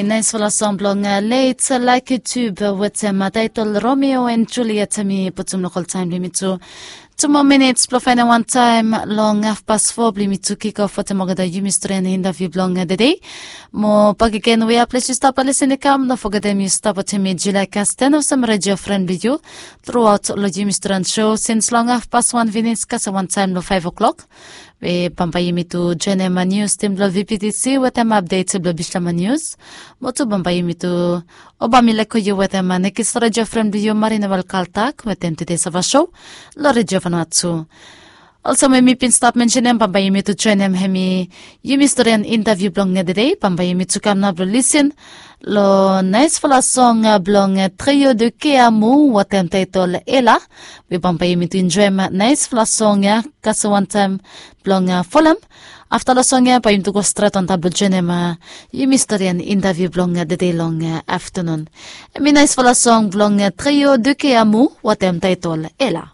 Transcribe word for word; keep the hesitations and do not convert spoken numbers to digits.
Naispela song blong leit laiki tube wetem taitol Romeo and Juliet mi putum lokol taim blong yumi tu. Two more minutes blong faindaon wantaim long hafpas fo blong yumi tu kikof wetem olgeta yumi stori and interview blong dede. Mo bakegen wea ples yu stap lisin i kam, no fogetem yu stap wetem mi Julia Kasten olsem redio fren blong yu thruaut long yumi stori and show sins long hafpas wan finis kasem wantaim long five o'clock. We bambae yumi tu joinim nius tim blong V P T C wetem apdet blong Bislama Nius. Mo tu bambae yumi tu, o bambae mi leko yu wetem nekis redio fren blong yu Marina Welkaltak wetem tede sava show long redio Vanuatu. Olsem we mi bin stap mensenim, bambae yumi tu joinim hemi yumi stori and interview blong dede. Bambae yumi tu kam nao blong lisin long naispela song blong Trio de Keamu wetem taitol Ela. We bambae yumi tu enjoim naispela song ya kasem wantaim blong folem. Afta long song ya bae yumi tu go stret antap blong joinim yumi stori and interview blong dede long aftanun. Hemi naispela song blong Trio de Keamu wetem taitol Ela.